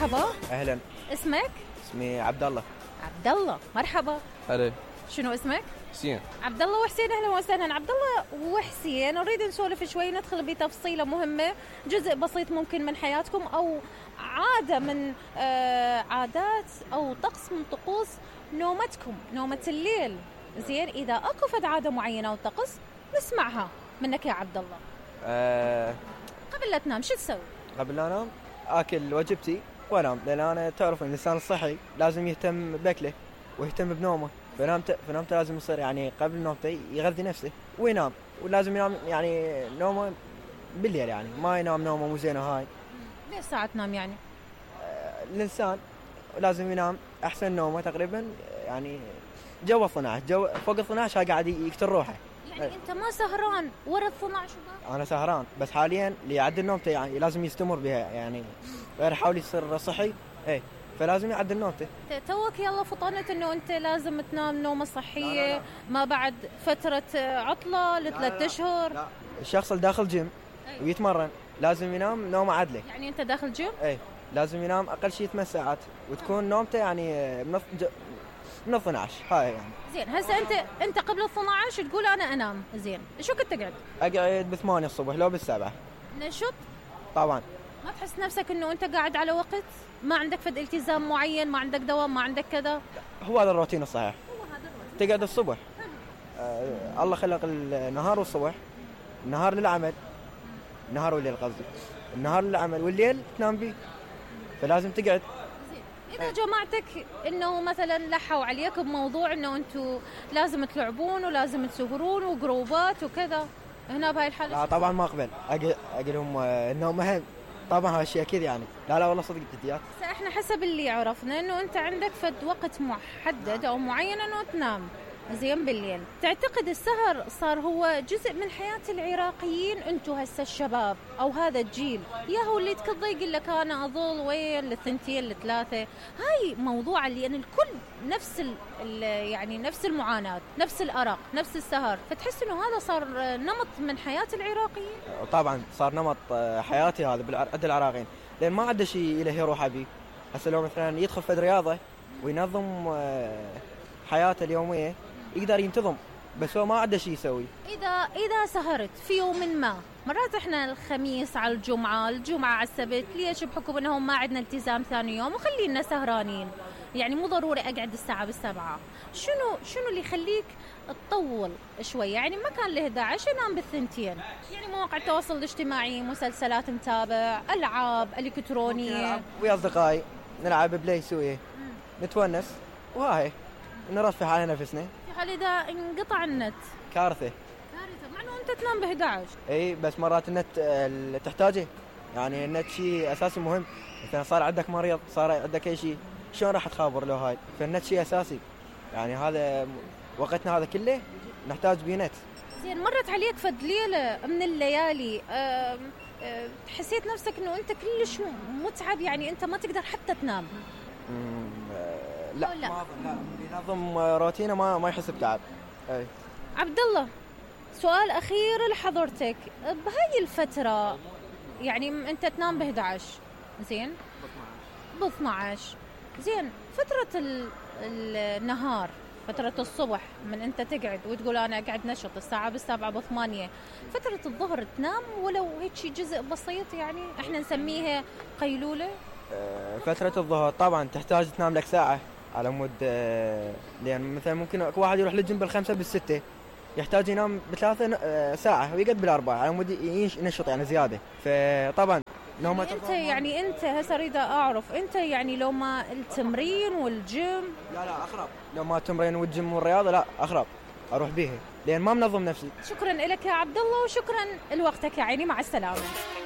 مرحبا. اهلا. اسمك؟ اسمي عبد الله. عبد الله، مرحبا. هلا. شنو اسمك؟ حسين. عبد الله وحسين، اهلا وسهلا. عبد الله وحسين، نريد نسولف شوي، ندخل بتفصيله مهمه، جزء بسيط ممكن من حياتكم او عاده من عادات او طقس من طقوس نومتكم، نومه الليل. زين، اذا اكو فد عاده معينه او طقس نسمعها منك يا عبد الله. قبل لا تنام شو تسوي؟ قبل لا انام اكل وجبتي وانام، لان انا تعرف الانسان الصحي لازم يهتم باكله ويهتم بنومه. فنومته لازم يصير يعني قبل نومته يغذي نفسه وينام، ولازم ينام يعني نومه بالليل، يعني ما ينام نومه مو زينه هاي. ليش ساعه تنام يعني؟ الانسان لازم ينام احسن نومه تقريبا يعني جو 12 جو فوق 12 هاي قاعد يقتل روحه. يعني انت ما سهران ورا 12 بقى؟ انا سهران، بس حاليا اللي يعدل نومته يعني لازم يستمر بها، يعني غير يحاول يصير صحي فلازم يعدل نومته. توك يلا فطنت انه انت لازم تنام نومه صحيه. لا. ما بعد فتره عطله ل3 اشهر. لا، الشخص اللي داخل جيم ويتمرن لازم ينام نومه عدله. يعني انت داخل جيم؟ لازم ينام اقل شيء 8 ساعات وتكون نومته يعني من 12 هاي يعني. زين، هسه انت قبل 12 تقول انا انام، زين شو كنت تقعد؟ اقعد ب8 الصبح لو ب7. نشط؟ طبعا. ما تحس نفسك انه انت قاعد على وقت؟ ما عندك فد التزام معين، ما عندك دوام، ما عندك كذا؟ هو هذا الروتين الصحيح. هو هذا الروتين. تقعد الصبح. الله خلق النهار والصبح. النهار للعمل، النهار والليل قصدي، النهار للعمل والليل تنام بيه، فلازم تقعد. إذا جماعتك إنه مثلاً لحوا عليك بموضوع إنه أنتوا لازم تلعبون ولازم تسهرون وجروبات وكذا، هنا بهاي الحالة؟ لا طبعاً ما أقبل، أقلهم النوم مهم طبعاً، هالشيء أكيد يعني. لا والله صدق جديات. إحنا حسب اللي عرفنا إنه أنت عندك فد وقت محدد أو معين إنه تنام زين بالليل. تعتقد السهر صار هو جزء من حياة العراقيين؟ أنتوا هسه الشباب أو هذا الجيل ياهو اللي تكضي يقول لك أنا أظل وين ل2 ل3. هاي موضوع اللي يعني الكل نفس يعني نفس المعاناة، نفس الأرق، نفس السهر، فتحس إنه هذا صار نمط من حياة العراقيين؟ طبعا صار نمط حياتي هذا عند العراقيين، لأن ما عنده شيء له يروح بيه. هسه لو مثلا يدخل في رياضة وينظم حياته اليومية يقدر ينتظم، بس هو ما عنده شيء يسوي. إذا سهرت في يوم ما، مرات إحنا الخميس على الجمعة على السبت، ليش؟ بحكم إنهم ما عندنا التزام ثاني يوم وخلينا سهرانين، يعني مو ضروري أقعد الساعة 7. شنو اللي يخليك تطول شوي؟ يعني ما كان له 11 أنام ب2، يعني مواقع التواصل الاجتماعي، مسلسلات متابع، ألعاب إلكترونية ويا أصدقائي نلعب بلاي سوية، نتونس وهاي نرفه على نفسنا. هل إذا انقطع النت كارثة، مع إنه أنت تنام ب11. بس مرات النت تحتاجه، يعني النت شيء أساسي مهم. مثلا صار عندك مريض، صار عندك أي شيء، شلون راح تخابر له هاي؟ فالنت شيء أساسي، يعني هذا وقتنا هذا كله نحتاج بيه نت. زين، مرت عليك فد ليلة من الليالي حسيت نفسك إنه أنت كلش متعب، يعني أنت ما تقدر حتى تنام؟ لا ما أظن، لا ينظم روتينه ما يحس بتعب. عبد الله، سؤال أخير لحضرتك، بهاي الفترة يعني أنت تنام ب11 زين؟ ب12 زين، فترة النهار، فترة الصبح من أنت تقعد وتقول أنا أقعد نشط الساعة 7 ب8، فترة الظهر تنام ولو هيك شيء جزء بسيط، يعني إحنا نسميها قيلولة؟ فترة الظهر طبعا تحتاج تنام لك ساعة على مود، لأن مثلا ممكن واحد يروح للجيم ب5 ب6 يحتاج ينام ب3 ساعة ويقعد ب4 على مود ينشط يعني زيادة. فطبعا نومة يعني أنت هسه أريد أعرف، أنت يعني لو ما التمرين والجيم؟ لا أخرب، لو ما التمرين والجيم والرياضة لا أخرب أروح بيها، لأن ما منظم نفسي. شكرا لك يا عبد الله، وشكرا لوقتك يا عيني، مع السلامة.